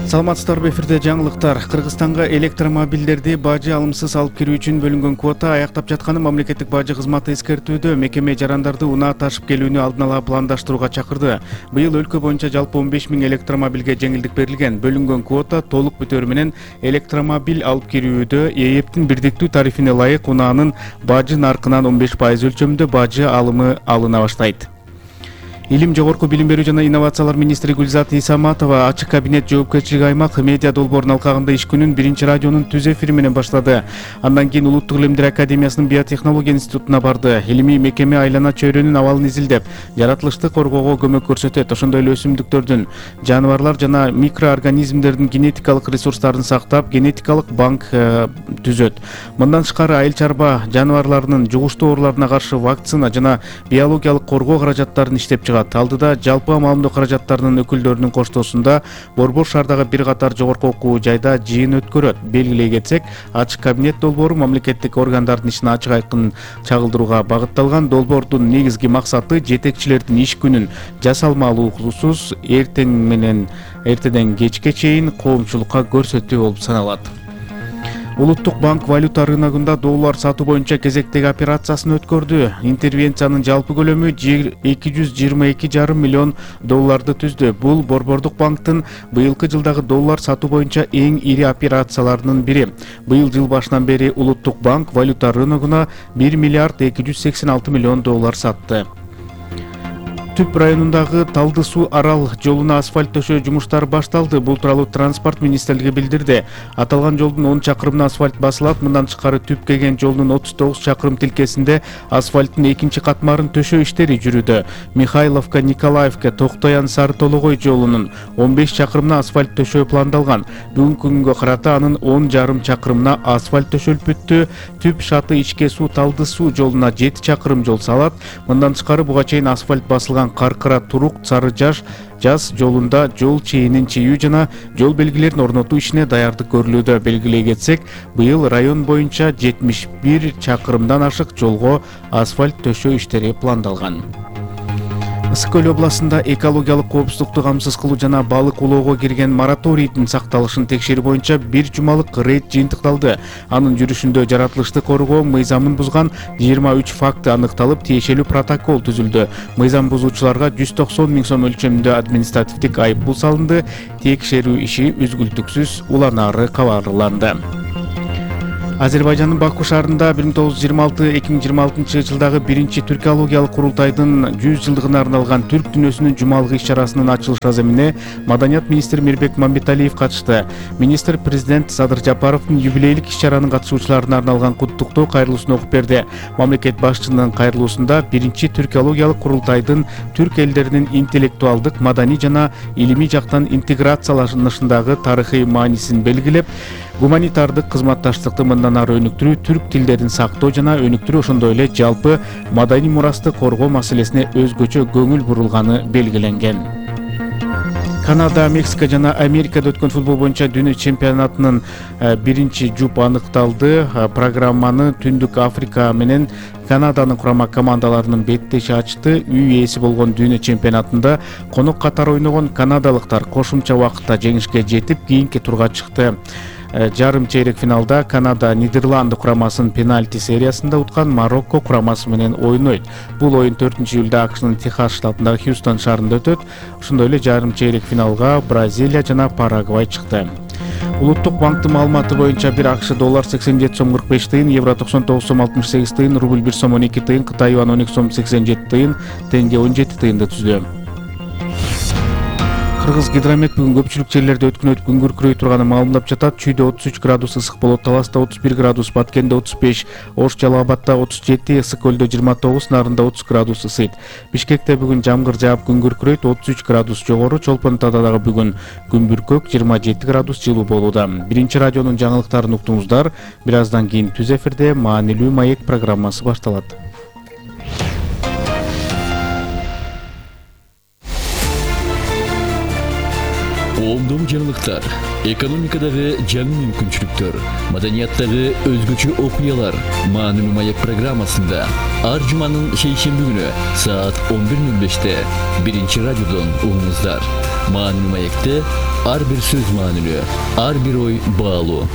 Саламатсыздарбы, эфирде жаңылыктар. Кыргызстанга электромобилдерди бажы алымсыз алып кирүү үчүн бөлүнгөн квота аяктап жатканын мамлекеттик бажы кызматы эскертүүдө. Мекеме жарандарды унаа ташып келүүнү алдын ала пландаштырууга чакырды. Быйыл өлкө боюнча жалпы 15 000 электромобилге жеңилдик берилген. Бөлүнгөн квота толук бүтөөрү менен электромобиль алып кирүүдө ЭЭПтин бирдиктүү тарифине ылайык унаанын бажы наркынан 15% өлчөмүндө бажы алымы алына баштайт. Илим, жогорку билим берүү жана инновациялар министри Гүлзат Исаматова ачык кабинет жоопкерчилиги аймак медиа долбоорунун алкагында иш күнүн биринчи радионун түз эфири менен баштады. Андан кийин Улуттук илимдер академиясынын биотехнология институтуна барды. Илимий мекеме айлана чөйрөнүн абалын изилдеп, жаратылышты коргоого көмөк көрсөтөт. Ошондой эле өсүмдүктөрдүн, жаныбарлар жана микроорганизмдердин генетикалык ресурстарын сактап, генетикалык банк түзөт. Мындан тышкары айыл чарба жаныбарларынын жугуштуу ооруларына каршы вакцина жана биологиялык коргоо каражаттарын иштеп чыгат. Алдыда жалпы маалымдоо каражаттарынын өкүлдөрүнүн коштоосунда Борбор шаардагы бир катар жогорку окуу жайда жыйын өткөрөт. Белгилей кетсек, ачык кабинет долбоору мамлекеттик органдардын ишин ачык айкын чагылдырууга багытталган. Долбоордун негизги максаты жетекчилердин иш күнүн жасалмалуусуз эртеден кечке чейин коомчулукка көрсөтүү болуп саналат. Улуттук банк валюта рыногунда доллар сатуу боюнча кезектеги операциясын өткөрдү. Интервенциянын жалпы көлөмү 222,5 миллион долларды түздү. Бул Борбордук банктын быйылкы жылдагы доллар сатуу боюнча эң ири операцияларынын бири. Быйыл жыл башынан бери Улуттук банк валюта рыногуна 1 миллиард 286 миллион доллар сатты. Түп районундагы Талды суу арал жолуна асфальт төшөө жумуштары башталды. Бул тууралуу транспорт министрлиги билдирди. Аталган жолдун 10 чакырымына асфальт басылат. Мындан тышкары Түп кеген жолунун 39 чакырым тилкесинде асфальттын экинчи катмарын төшөө иштери жүрүүдө. Михайловка Николаевка Токтоян Сары Тологой жолунун 15 чакырымына асфальт төшөө пландалган. Бүгүнкү күнгө карата анын 10,5 чакырымына асфальт төшөлүп бүттү. Түп Шаты Ичке суу Талды суу жолуна 7 чакырым жол салат. Мындан тышкары буга чейин асфальт басылган Каркыра Турук Сары Жаз жолунда жол чейинин чийүү жана жол белгилерин орнотуу ишине даярдык көрүлүүдө. Белгилей кетсек, быйыл район боюнча 71 чакырымдан ашык жолго асфальт төшөө иштери пландалган. Ысык Көл областында экологиялык коопсуздукту камсыз кылуу жана балык улоого кирген мораторийдин сакталышын текшерүү боюнча бир жумалык рейд жыйынтыкталды. Анын жүрүшүндө жаратылышты коргоо мыйзамын бузган 23 факты аныкталып, тиешелүү протокол түзүлдү. Мыйзам бузуучуларга 190 000 сом өлчөмүндө административдик айыппул салынды. Текшерүү иши үзгүлтүксүз уланары кабарланды. Азербайжандын Баку шаарында 1926-2026 жылдагы биринчи түркологиялык курултайдын 100 жылдыгына арналган түрк дүйнөсүнүн жумалык иш-чарасынын ачылыш аземине Маданият министри Мирбек Мамбеталиев катышты. Министр президент Садыр Жапаровдун юбилейлик иш-чаранын катышуучуларына арналган куттуктоо кайрылуусун окуп берди. Мамлекет башчысынын кайрылуусунда биринчи түркологиялык курултайдын түрк элдеринин интеллектуалдык, маданий жана илимий жактан интеграцияланышындагы тарыхый маанисин белгилеп, гуманитардык кызматташтыкты мындан ары өнүктүрүү, түрк тилдерин сактоо жана өнүктүрүү, ошондой эле жалпы маданий мурасты коргоо маселесине өзгөчө көңүл бурулганы белгиленген. Канада, Мексика жана Америкада өткөн футбол боюнча дүйнө чемпионатынын биринчи жуп аныкталды. Программаны Түндүк Африка менен Канаданын курама командаларынын беттеши ачты. Үй ээси болгон дүйнө чемпионатында конок катары ойногон канадалыктар кошумча убакытта жеңишке жетип, кийинки турга чыкты. Жарым чейрек финалда Канада Нидерланды курамасын пенальти сериясында уткан Марокко курамасы менен ойнойт. Бул оюн 4-июлда АКШнын Техас штатындагы Хьюстон шаарында өтөт. Ошондой эле жарым чейрек финалга Бразилия жана Парагвай чыкты. Улуттук банктын маалыматы боюнча бир АКШ доллар 87 сом 45 тыйын, евро 99 сом 68 тыйын, рубль 1 сом 12 тыйын, Кытай юан 12 сом 87 тыйын, тенге 17 тыйынды түздү. Кыргыз гидромет бүгүн көпчүлүк жерлерде өткүнөт күн күркүрөй турганын маалымдап жатат. Чүйдө 33 градус ысык болот, Таласта 31 градус, Баткенде 35, Ош Жалал Абадта 37, Ысык Көлдө 29, Нарында 30 градус ысыйт. Бишкекте бүгүн жамгыр жаап күн күркүрөйт, 33 градус жогору, Чолпон Атада дагы бүгүн күн бүркөк 27 градус жылуу болууда. Биринчи радионун жаңылыктарын уктуңуздар. Бир аздан кийин түз эфирде маанилүү маек программасы башталат. Коомдогу жаңылыктар, экономикадагы жаңы мүмкүнчүлүктөр, маданияттагы өзгөчө окуялар маанилүү маек программасында ар жуманын шейшемби күнү саат 11:05 биринчи радиодон угуңуздар. Маанилүү маекте ар бир сөз маанилүү, ар бир ой баалуу.